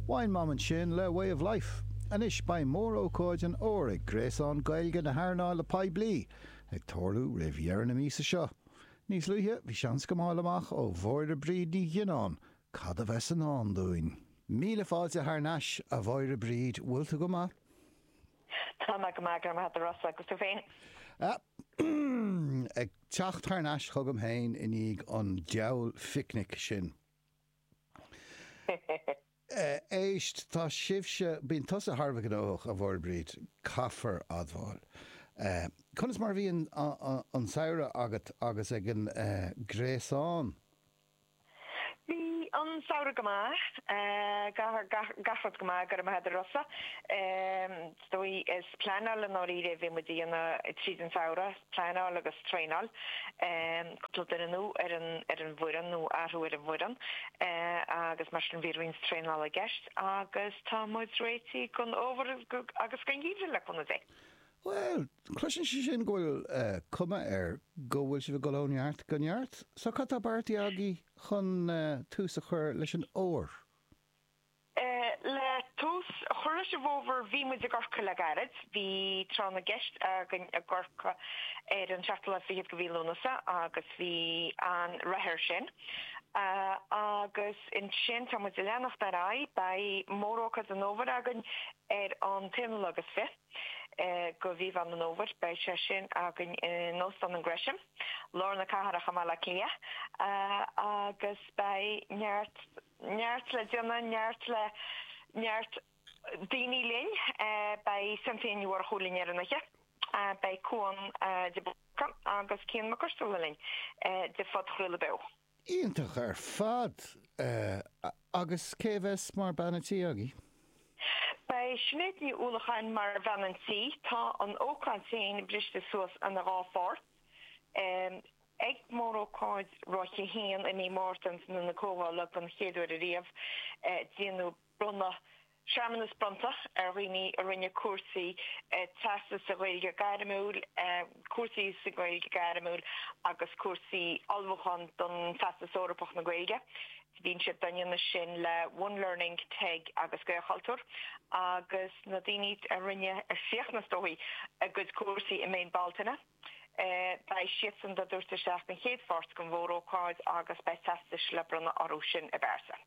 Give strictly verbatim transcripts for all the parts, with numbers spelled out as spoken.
Wine Mom ansin le Way of Life. Anois beidh mórócáid an fhómhair ag Gréasán Gaeilge na hEarnála Poiblí ag tarlú roimh dheireadh na míosa seo. Níos luaithe bhí seans agam fháil amach ó Mháire Bríd Ní Ghionnáin cad a bheas i ndán dúinn. Míle fáilte thar n-ais a Mháire Bríd bhfuil tú go maith? Tá mé go maith go Rossa agus tú féin. Ag teacht thar n-ais chugam féin i ndiaidh an diabhal phicnic sin. Éist tá sibhse bíonn tusa thar a bheith gnóthach a Mháire Bríd caithfear admháil. Conas mar bhí an samhradh agat agus ag an gréasán? Bhí an samhradh go maith gach rud go maith go raibh maith agat a Rossa. Is dóigh is pleanáil i ndáiríre a bhí muid a dhéanamh tríd an samhradh, pleanáil agus traenáil. Cúpla duine nua ar an ar an bhfoireann nó athrú ar an bhfoireann agus mar sin bhí roinnt traenála i gceist agus tá muid réitithe don fhómhar agus don gheimhreadh le cúnamh Dé. Bhuel, cloiseann sé sin go bhfuil cuma air go bhfuil sibh ag dul ó neart go neart. So cad tá beartaithe agaibh chun tús a chur leis an fhómhar? Le tús a chur leis an bhfómhar bhí muid i gCorcaigh le gairid. Bhí tráth na gceist againn i gCorcaigh ar an seachtú lá fichead de mhí Lúnasa agus bhí an-rath air sin. Agus ansin tá muid ag leanacht ar aghaidh. Beidh mórócáid an fhómhair againn ar an t-aonú lá agus fiche. de mhí Mheán an Fhómhair. Beidh sé sin againn in Óstán an Gresham, lár na cathrach i mBaile Átha Cliath, agus beidh neart, neart le déanamh, neart le, neart daoine linn. Beidh Cynthia Ní Mhurchú linn ar an oíche, beidh Cuan de Búrca agus Cian Mac Coistealbha linn de Phodchraoladh Beo. Iontach ar fad! Agus cé a bheas mar bean an tí agaibh? Beidh Sinéad Ní Uallacháin mar bhean an tí. Tá an ócáid féin briste suas ina dhá pháirt. Ag mórócáid Ráithe a haon i mí Márta in Ionad na Comhdhála den chéad uair ariamh, déanadh bronnadh Searmanas bronnta ar dhaoine a rinne cúrsaí teastas sa Ghaeilge Gairmiúil, cúrsaí sa Ghaeilge Gairmiúil agus cúrsaí ullmhúcháin don Teastas Eorpach na Gaeilge. Bíonn siad á ndéanamh sin le One Learning, TEG agus Gaelchultúr agus na daoine a rinne, a chríochnaigh is dóigh, a gcuid cúrsaí i mí Bealtaine, beidh siadsan dá dtabhairt isteach don chéad pháirt den mhórócáid agus beidh teastais le bronnadh orthu sin i bpearsa.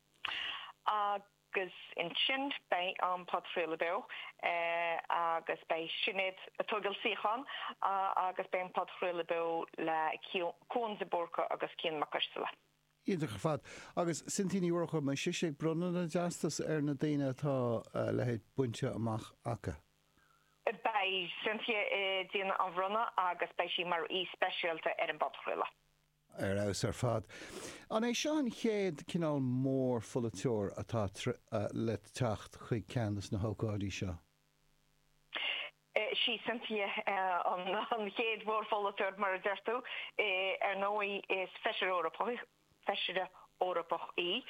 Agus ansin beidh an podchraoladh beo agus beidh Sinéad ag tógáil suíochán agus beidh an podchraoladh beo le Cuan de Búrca agus Cian Mac Coistealbha. Iontach ar fad. Agus Cynthia Ní Mhurchú, an mbeidh sise ag bronnadh na dteastas ar na daoine atá a leithéid bainte amach acu? Beidh Cynthia ag déanamh an bhronnadh agus beidh sí mar aoi speisialta ar an bpodchraoladh. Ar fheabhas ar fad. An é seo an chéad cineál mórpholaiteoir atá le teacht chuig ceann de na hócáidí seo? Sí Cynthia an chéad mhórpholaiteoir, mar a deir tú. Ar ndóigh, is Feisire Eorpach, Feisire Eorpach í.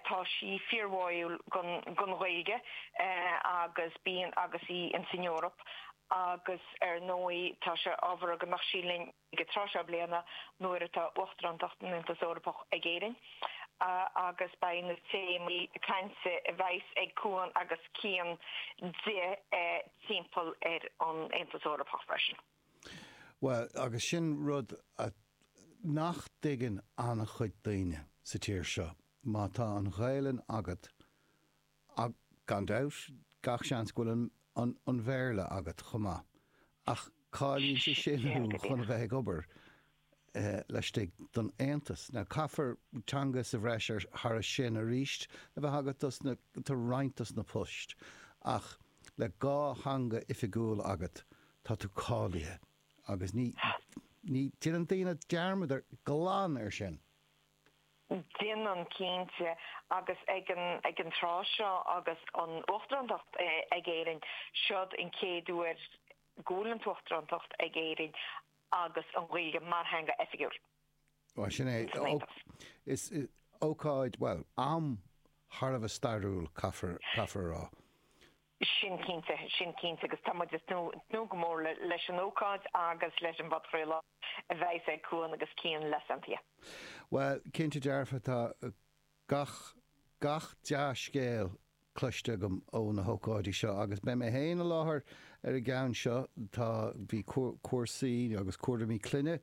Tá sí fíorbháúil don Ghaeilge agus bíonn agus í ins an Eoraip agus ar ndóigh tá sé ábhartha go mbeadh sí linn. ag an tráth seo bliana nuair atá Uachtarántacht an Aontais Eorpach ag Éirinn agus beidh na téamaí cainte a bheas ag Cuan agus Cian di timpeall ar an Aontas Eorpach freisin. Bhuel, agus sin rud a nach dtuigeann an-chuid daoine sa tír seo, má tá an Ghaelainn agat, Ach gan dabht, gach seans go bhfuil an an Bhéarla agat chomh maith. Ach cáilíonn sé sin thú chun a bheith ag obair laistigh den Aontas. Now caithfear teanga sa bhreis ar thairis sin arís a bheith agat dos na do roinnt dos na poist ach le dhá theanga oifigiúil agat tá tú cáilithe agus ní ní déanann daoine dearmad ar glan ar sin. Déanann, cinnte, agus ag an ag an tráth seo agus an Uachtarántacht ag Éirinn, seod an chéad uair go bhfuil an tUachtarántacht ag Éirinn agus an Ghaeilge mar theanga oifigiúil Bhuel, sin é. san Aontas. Is ócáid, bhuel, am thar a bheith stairiúil, caithfear caithfear a rá. Sin cinnte, sin cinnte agus tá muid ag tnúth go mór leis an ócáid agus leis an bpodchraoladh a bheas ag Cuan agus Cian le Cynthia. Bhuel, cinnte dearfa, tá gach, gach dea-scéal cloiste agam ó na hócáidí seo agus beidh mé féin i láthair ar an gceann seo. Tá, bhí cúrsaí agus cúraimí clainne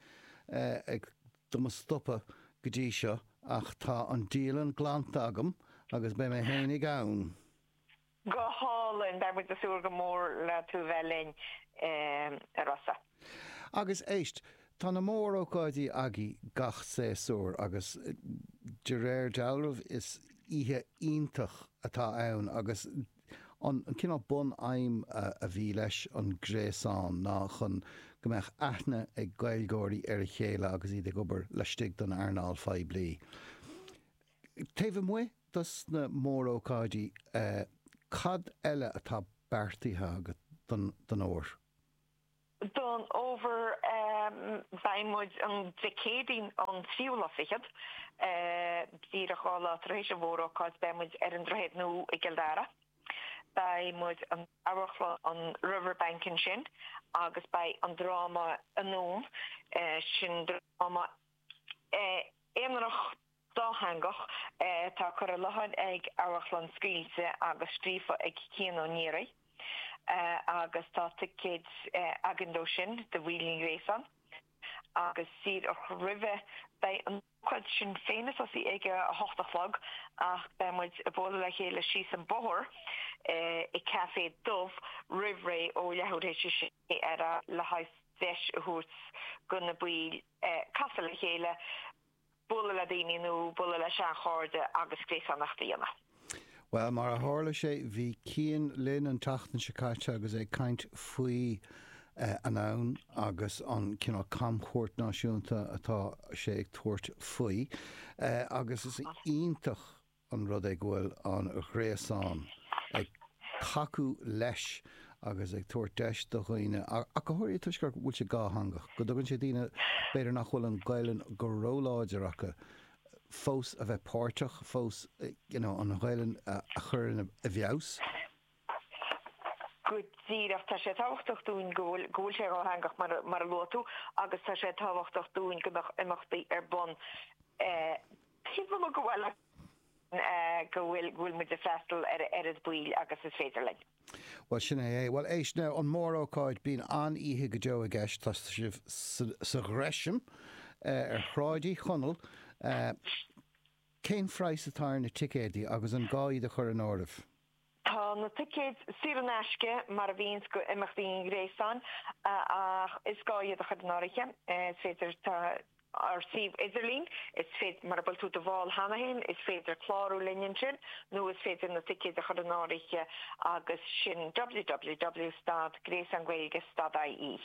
ag do mo stopadh go dtí seo ach tá an dialann glanta agam agus beidh mé fhéinig ann. Go hálainn, beidh muid ag súil go mór le tú bheith linn, a Rossa. Agus éist, tá na mórócáidí agaibh gach séasúr agus de réir dealraimh is oíche iontach atá ann agus an cineál bun-aidhm a bhí leis an ghréasán ná chun go mbeadh aithne ag Gaeilgeoirí ar a chéile agus iad ag obair laistigh den earnáil phoiblí. Taobh amuigh dos na mórócáidí, cad eile atá beartaithe agat don fhómhar? Don fhómhar beidh muid an Dé Céadaoin an tríú lá fichead, díreach dhá lá tar éis an mhórócáid, beidh muid ar an Droichead Nua i gCill Dara. Beidh muid in Amharclann an Riverbank ansin agus beidh an dráma Anonn, sin dráma aonarach dátheangach atá curtha i láthair ag Amharclann Scaoilte agus scríofa ag Cian Ó Niaraigh agus tá ticéid againn dó sin do bhaill an Ghréasáin agus díreach roimhe beidh an ócáid sin féin ag tosaí ag a hocht a chlog ach beidh muid ag bualadh le chéile síos an bóthar i Café Dubh roimh ré ó leathuair tar éis a sé ar aghaidh le haghaidh deis a thabhairt do na baill casadh le chéile, bualadh le daoine nó bualadh le seanchairde agus gréasánacht a dhéanamh. Bhuel, mar a tharla sé, bhí Cian linn an tseachtain seo caite agus é ag caint faoi Anonn agus an cineál camchuairt náisiúnta atá sé ag tabhairt faoi agus is iontach an rud é go bhfuil an Gréasán ag tacú leis agus ag tabhairt deis do dhaoine, ach go háirithe toisc go bhfuil sé dátheangach, go dtugann sé daoine b'fhéidir nach bhfuil an Ghaelainn go róláidir acu, fós a bheith páirteach, fós you know an Ghaelainn a chur i bhfeabhas. Go díreach. Tá sé tábhachtach dúinn go bhfuil go bhfuil sé dhátheangach mar mar a luaigh tú agus tá sé tábhachtach dúinn go mbeadh imeachtaí ar bun taobh amuigh de bhaile go bhfuil go bhfuil muid ag freastal ar a oiread baill agus is féidir linn. Bhuel, sin é é. Bhuel, éist now, an mórócáid, bíonn an-oíche go deo i gceist, tá sibh sa Ghresham ar Shráid Uí Chonaill. Cén phraghas atá ar na ticéidí agus an gá iad a chur in áirithe? Tá na ticéid saor in aisce, mar a bhíonns go imeachtaí an Ghréasáin, ach is gá iad a chur in áirithe. Is féidir, tá. ár suíomh idirlín, is féidir, mura bhfuil tú do bhall cheana féin, is féidir clárú linn ansin nó is féidir na ticéid a chur in áirithe agus sin www stad gréasán Gaeilge stad ie.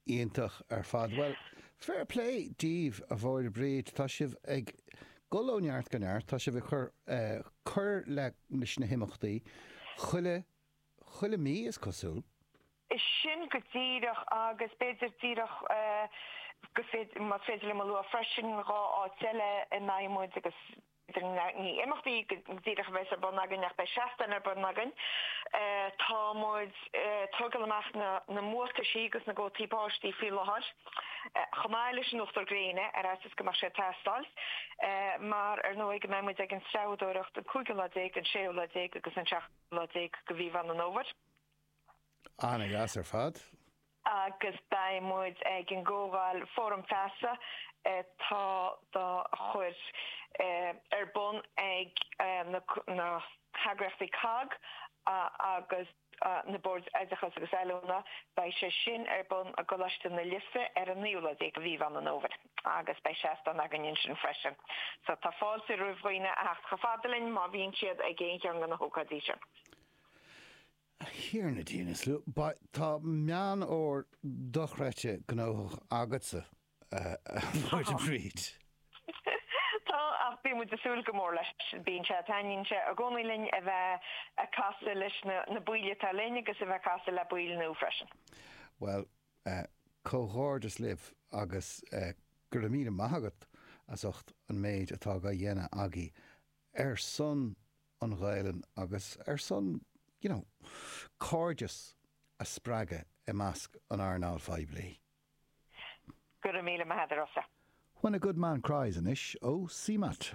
Iontach ar fad. Bhuel, fair play daoibh, a Mháire Bríd. Tá sibh ag dul ó neart go neart, tá sibh ag cur cur leis na himeachtaí chuile chuile mí, is cosúil. Sin go díreach, agus b'fhéidir díreach go féidir, más féidir liom a lua freisin, dhá áit eile a mbeidh muid agus b'fhéidir ní imeachtaí go díreach a bheas ar bun againn ach beidh seastán ar bun againn. Tá muid ag tógáil amach na na mbuataisí agus na gcótaí báistí faoi láthair, chomh maith leis an uachtar gréine, ar fhaitíos go mbeadh sé ag teastáil, mar ar ndóigh go mbeidh muid ag an treabhdóireacht an cúigiú lá déag, an séú lá déag agus an seachtú lá déag de mhí Mheán an Fhómhair. Ana-dheas ar fad. Agus beidh muid ag an gcomhdháil Fóram Feasa atá dá chur ar bun ag na heagraíochtaí cogg agus na Boird Oideachais agus Oiliúna. Beidh sé sin ar bun i gColáiste na Life ar an naoú lá déag de mhí Mheán an Fhómhair agus beidh seastán againn ansin freisin. So tá fáilte roimh dhaoine a theacht chomh fada linn má bhíonn siad ag aon cheann de na hócáidí sin. A Thiarna Dia na Slua, tá Meán Fhómhair dochreidte gnóthach agatsa, a Mháire Bríd. Tá, ach bíonn muid ag súil go mór leis. Bíonn sé, taitníonn sé i gcónaí linn a bheith ag casadh leis na baill atá linn agus a bheith ag casadh le baill nua freisin. Bhuel, comhghairdeas libh agus go raibh míle maith agat as ucht an méid atá dhá dhéanamh agaibh ar son an Ghaelainn agus ar son, you know, cairdeas a spreagadh i measc an earnáil phoiblí. Go raibh míle maith agat, a Rossa. When a Good Man Cries anois ó CMAT.